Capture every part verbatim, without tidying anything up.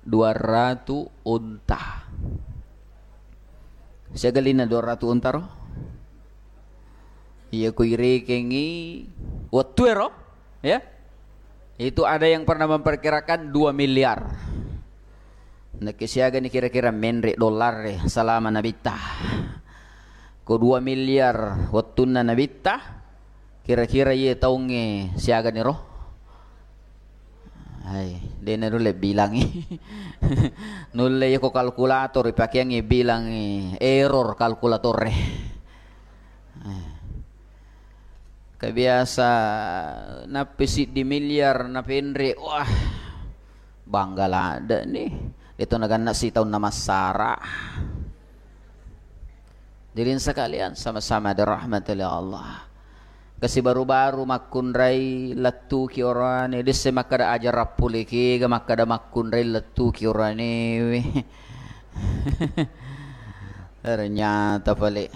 dua ratu unta. Siaga lina dua ratu unta ro? Iya, ku irekengi wettu ero, ya. Itu ada yang pernah memperkirakan dua miliar. Nakke siagani kira-kira menre dolar e selama Nabitta. Ko dua miliar wettunna Nabitta, kira-kira iye taungnge siagani ro? Hai, de' nanulle bilangi. Nulle yako kalkulator ipakeangngi bilangi, error kalkulator e. Eh. Kebiasa nappi siddi miliar napenre, wah, bangga ladde' ni. Itu naganna sitaunna massara. Hadirin sekalian, sama-sama dirahmati oleh Allah. Kasi baru-baru makkunrai lettuki orane, disse makkada aja rappulekega, makkada makkunrai lettuki oranewe. Ternyata pale.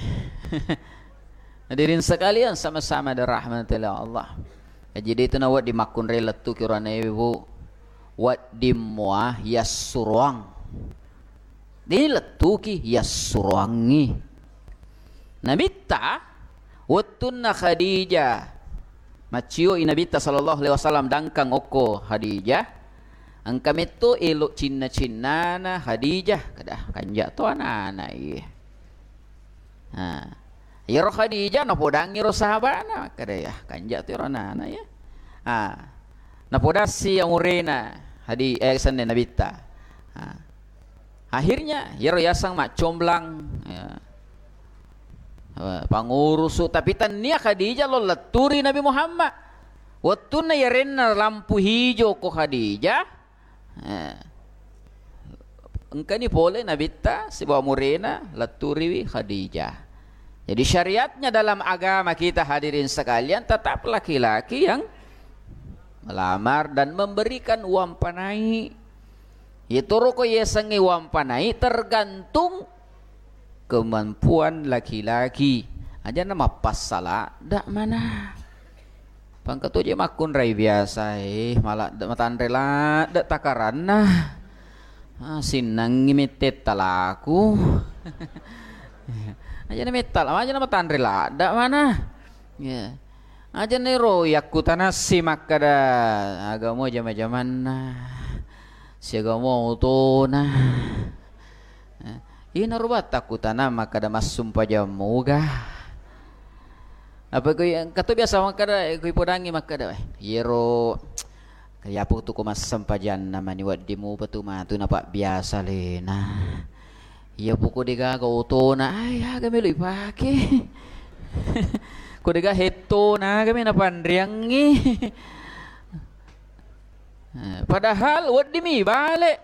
Hadirin sekalian, sama-sama dirahmati oleh Allah. Jadi itu na wedding makkunrai lettuki oranewe, Bu. Wedding mua yassuroang. Dini lettuki yassuroangngi. Nabitta wettunna Khadijah maccio i Nabitta sallallahu alaihi wasallam dangkang okko Khadijah, engka metto elo cinna-cinnana Khadijah, kada kanja to anana iye. Ha. Iyaro Khadijah napodangngi ro sahabana, makkeda, "Ya, kanja tu ro anana ya." Ha. Napodassi amurena Hadi-, eh, senna Nabitta. Ha. Akhirnya iyaro yaseng maccomblang, ya. Eh, pangurusu, tapi tennia Khadijah lo letturi Nabi Muhammad. Wettunna yarenna lampu hijau ko Khadijah, Eh. Engkani pole Nabitta sibawa murena letturiwi Khadijah. Jadi syariatnya dalam agama kita, hadirin sekalian, tetap laki-laki yang melamar dan memberikan uang panai. Yetoro ko yasengnge uang panai tergantung kemampuan laki-laki. Aja na mappassala, dak mana. Pangka to je makkunrai biasa, eh, maladde-, matanre ladde takaranna. Ah, sinnangngi mette talaku. Aja na metta, aja na matanre ladde mana. Ya. Aja na ro yakkutanassi makkada agamo jama-jamanna. Siagamo otona. Eh, ina rubatta kutana makkada massumpajang muga. Apa kui, engka to biasa makkada, kui podangi makkada, "Eh, yero, kaya apa tu ko massempajanna mani wedding mupa tu matu napabbiasa lena. Iya poko degaga otona, ai aga melo ipake." Ko dega hettona aga mena panriangngi. Eh, padahal weddimi bale.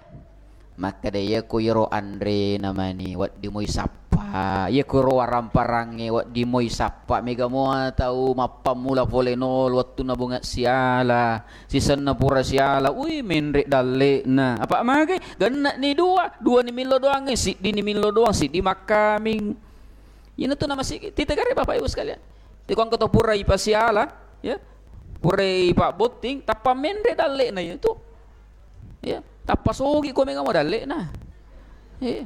Makkeda, "Iyako iyaro anrena mani, wedding moi sappa. Iyako ro waramparangnge, wedding moi sappa. Mega mua tau mappammula pole nol wettunna bunga siala, sisenna pura siala. Ui, menre dalle'na. Apa magai? Genne'ni dua, duani millo doangnge, siddini millo doang, siddi makkaming." Iyana tu namasigi. Titegare Bapak Ibu sekalian. Tiko engka to pura ipasiala, ya. Pura ipabbotting, tappa menre dalle'na iyatu. Ya, tappa sogi ko mega mo dalle'na. Ya.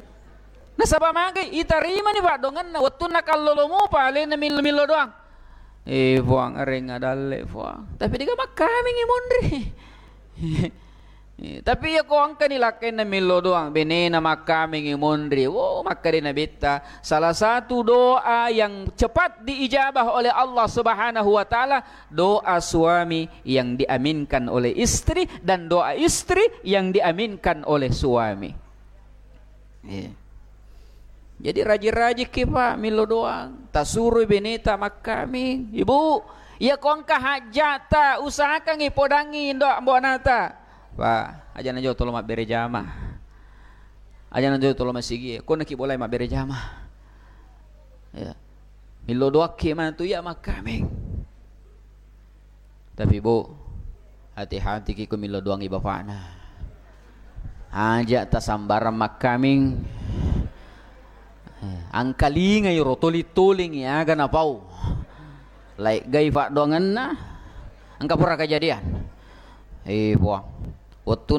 Nasaba magai itarimani paddongenna wettunna kallolo mupa alena millo-millo doang. Eh, Puang, arenga dalle, Puang. Tapi dega makkamingi monri. Eh, tapi iya ko engkani lakkainna millo doang, benena makkamingi monri. Wo, makkeda Nabitta, salah satu doa yang cepat diijabah oleh Allah Subhanahu wa Ta'ala, doa suami yang diaminkan oleh istri dan doa istri yang diaminkan oleh suami. Iya. Jadi rajin-rajikki, Pak, millo doang. Tasuroi beneta makkaming. Ibu, iya ko engka hajjata, usahakangi podangi indo ambo anata. Pak, aja na jolo tolo mabbere jama. Aja na jolo tolo masigi. Ko naki bolai mabbere jama. Ya. Millo doakki matu iya makkaming. Tapi, Bu, hati-hatiki ko millo doangi bapakna. Aja tasambarang makkaming. Eh, angkalingai ro tuli-tulingi aga napau. Laiggai paddoangenna. Engka pura kejadian. Eh, Puang. Wettunna